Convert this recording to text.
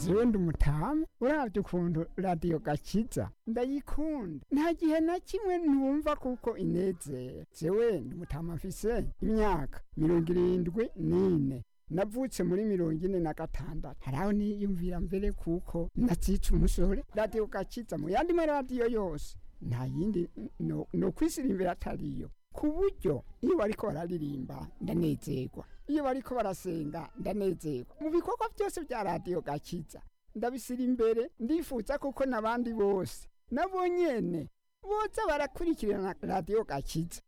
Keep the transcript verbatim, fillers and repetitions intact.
Jewe ndi umutamu, uravye ukuntu Radiyo Gakiza ndayikunda, nta gihe na kimwe ntumva kuko inezera. Jewe ndi umutamu, mfise imyaka mirongo irindwi n'ine, navutse muri mirongo ine na gatandatu. Haraho niyumvira mbere kuko natsitse umusore. Radiyo Gakiza mu yandi maradiyo yose nta yindi no, no kwisirimbira atariyo, ku buryo iyo bariko bararirimba ndanezerwa, iyo bariko barasenga ndanezerwa. Mu bikorwa byose bya Radiyo Gakiza ndabisira imbere. Ndifuza kuko n'abandi bose nabo nyene boza barakurikirana Radiyo Gakiza.